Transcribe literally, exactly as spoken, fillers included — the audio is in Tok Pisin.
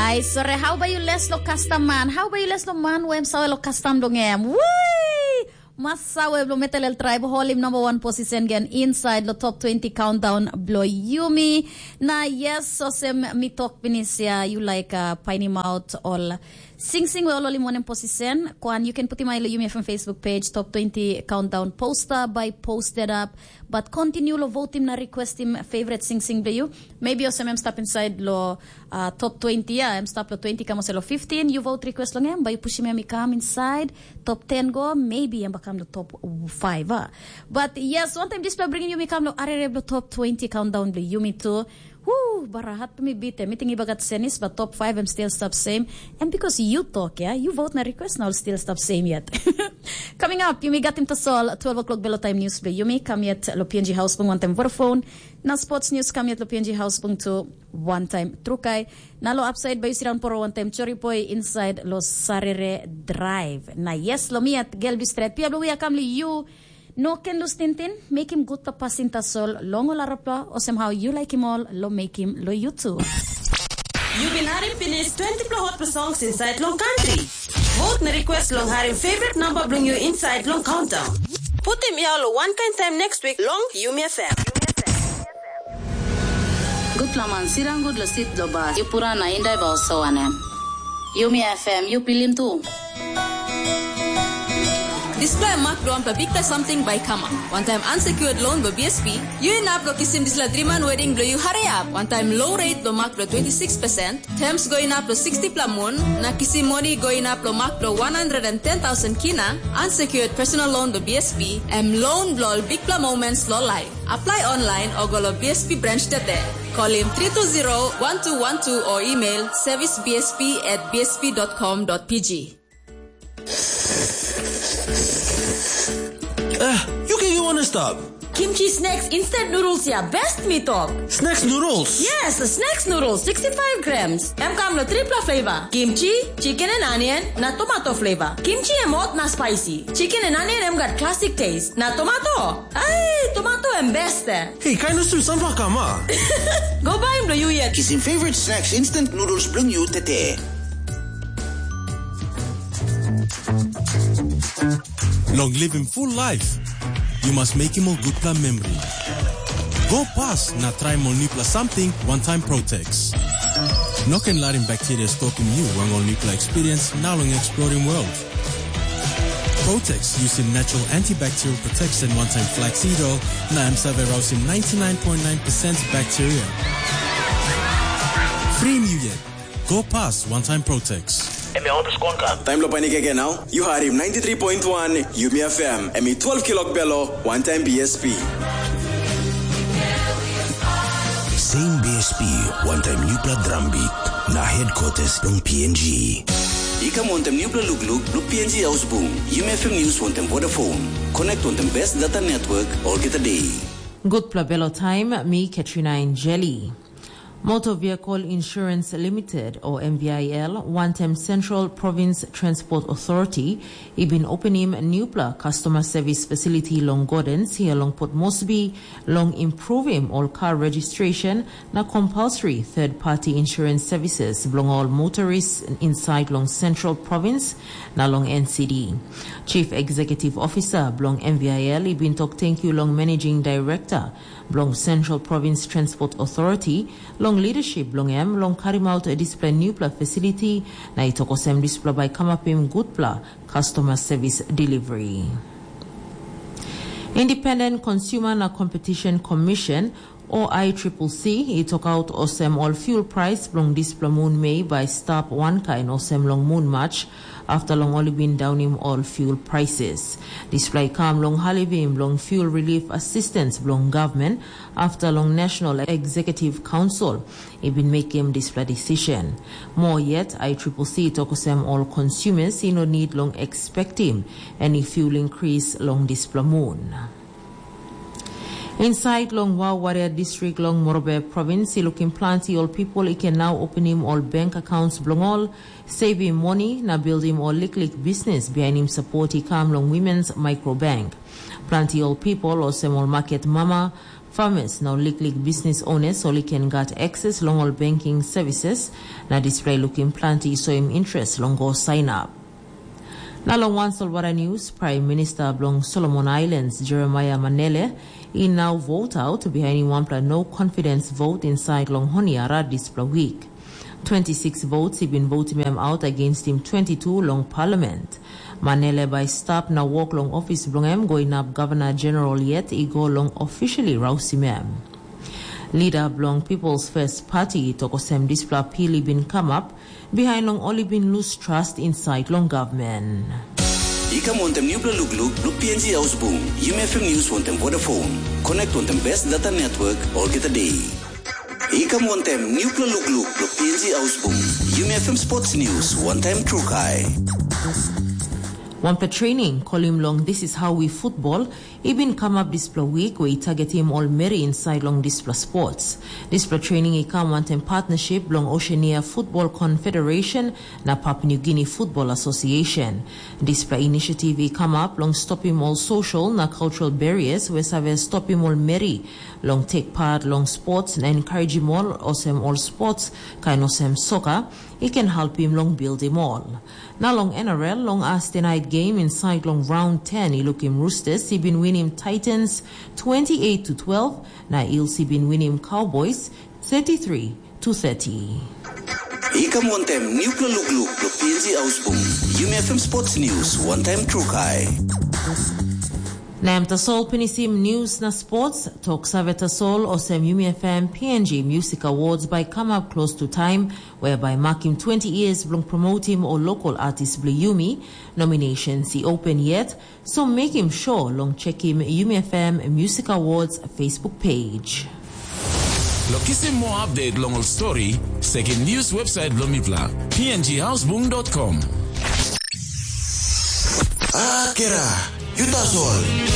Ai sore, hau bai yu les lo kastam man? Hau bai yu les lo man we em save lo kastam dong em? Wui! Mas save lo metal el tribe holim number one position gen inside lo top twenty countdown blo yumi. Na yes, osem mi tok pinis ya, you like uh, painim out all sing sing we all holim one position. Kwan, you can put him lo yumi from Facebook page, top twenty countdown poster by posted up. But continue lo votim na requestim favorite sing sing blo you. Maybe osem em stap inside lo uh, top twenty, yeah, em stap lo twenty, kam olsem lo fifteen, you vote request long em, but you push him, em i come inside top ten go, maybe em bakam lo top five, ah. But yes, one time this bringing you mi kam lo arere blo top twenty countdown blo yumi too. Woo, bara hat mi bite, mi ting iba gat senis, but top five em still stop same. And because you talk, yeah, you vote na request now still stop same yet. Coming up, yumi gat him to sol twelve o'clock belo time news blo yumi, come yet lo P N G house bung one time Vodafone. Na sports news kam yet lo P N G house bung tu one time trukai. Na lo upside by Usiran Poro one time chori boy inside lo Sarere Drive. Na yes, lo mi at gel bistret pia blo we akam li you. No ken lus tintin, make him good pasin tasol long ol arapla, osem how you like him all, lo make him lo you too. You bin harim pinis twenty pla hot songs inside long country. Vote na request long harim favorite number blo you inside long countdown. Putim yau lo one kind time next week long Yumi F M. Gutpela man sirang gut lo sit lo bas. Yu pura na indai ba oso wanem. Yumi F M, yu pilim tu. Dispela em mak bilong wanpela bikpela samting bai i kamap. Wantaim unsecured loan bilong B S P, yu inap long kisim dispela driman wedding bilong yu hariap. Wantaim low rate bilong mak bilong twenty six percent, terms go inap long sixty pela mun, na kisim moni go inap long mak bilong one hundred and ten thousand kina, unsecured personal loan bilong B S P, em loan bilong ol bikpela moments long life. Apply online o go long B S P branch tete. Call him three two zero one two one two or email service B S P at B S P dot com dot P G. Eh, yu ken yu wana stap. Kimchi snacks instant noodles ya best mi tok. Snacks noodles? Yes, snacks noodles sixty-five grams. Em kam lo tripla flavor. Kimchi, chicken and onion, na tomato flavor. Kimchi em hot na spicy. Chicken and onion em gat classic taste. Na tomato? Ai, tomato em best eh. Hei, kain olsem sunflower kam a? Go bai em lo yu yet. Kisim favorite snacks instant noodles bilong yu tete. Long living full life, you must make him a good plan memory. Go past na try mo nipla something one time Protex. No can let him bacteria stock in you one on nipla experience now long exploring world. Protex using natural antibacterial protection one time flaxseed oil na M seven rousing ninety-nine point nine percent bacteria. Free you yet. Go past one time Protex. Em ya oto skon ka. Taim lo panik eke nau, yu harim ninety-three point one Yumi F M, em i twelve kilok belo, one time B S P. Same B S P, one time newpla drum beat, na headquarters long P N G. I kam wantem newpela lukluk bilong P N G Ausbung, Yumi F M News wantem Vodafone. Connect wantem best data network olgeta day. Gutpela belo taim, mi Katrina Injeli. Motor Vehicle Insurance Limited, o M V I L, wantem Central Province Transport Authority, i bin openim newpela customer service facility long Gordens, hia long Port Moresby, long improvim ol car registration na compulsory third party insurance services bilong ol motorists inside long Central Province na long N C D. Chief Executive Officer bilong M V I L i bin tok tenkyu long Managing Director bilong Central Province Transport Authority long leadership bilong em long karimaut dispela newpela facility, na i tok olsem dispela bai kamapim gutpela customer service delivery. Independent Consumer na Competition Commission, o I triple C, i tokaut olsem ol fuel price bilong dispela mun Mei bai stap wankain olsem long mun Mac, afta long ol i bin daunim ol fuel prices. Dispela i kam long halivim bilong fuel relief assistance bilong gavman, afta long National Executive Council i bin mekim dispela decision. Moa yet, I triple C i tok olsem ol consumers i no nid long expectim any fuel increase long dispela mun. Inside long Wawaria District long Morobe Province, i lukim planti ol people i can now openim ol bank accounts bilong ol, saving money na building ol liklik business bihainim support i kam long Women's Micro Bank. Planti ol people olsem ol market mama, Farmers na ol liklik bisnis owners ol i ken gat access long ol banking services, na dispela i lukim planti i soim interest long go sign up. Na long wan solwara news, Prime Minister bilong Solomon Islands, Jeremiah Manele, i nau vote out bihainim wanpela no confidence vote inside long Honiara dispela week. Twenty-six votes i bin votim em out against him twenty-two long parliament. Manele bai stap na wok long ofis bilong em go inap Governor General yet i go long officially rausim em. Lida bilong People's First Party i tok olsem dispela pil i bin kamap bihain long ol i bin lus trust insait long gavman. I kam wantaim nupela lukluk bilong P N G Haus Bung, Yumi F M News wantaim Vodafone. Connect wantaim best data network olgeta day. I kam wantaim nupela lukluk bilong P N G Haus Bung, Yumi F M Sports News wantaim Trukai. Wanpela training kolim long This is how we football i bin kamap dispela wik we i targetim ol meri insait long dispela sports. Dispela training i kam wantaim partnership bilong Oceania Football Confederation na Papua New Guinea Football Association. Dispela initiative i kamap long stopim ol social na cultural barriers we save stopim ol meri long take part long sports na encouragim ol olsem ol sports kain olsem soccer i ken helpim long buildim ol. Na long N R L, long Thursday night game inside long round ten i lukim Roosters i bin winim Titans twenty-eight to twelve, na Eels i bin winim Cowboys thirty-three to thirty. I kam wantaim nupela lukluk bilong P N G Haus Bung, Yumi F M Sports News wantaim Trukai. Na em tasol pinisim news na sports, tok save tasol olsem Yumi F M P N G Music Awards bai kamap close to time, whereby makim twenty years bilong promotim o local artist bilong Yumi. Nominations i open yet, so mekim sure long chekim Yumi F M Music Awards Facebook page. Lo kisim moa update long ol story, sekim news website bilong mipela, P N G hausbung dot com. Akira, yu tasol.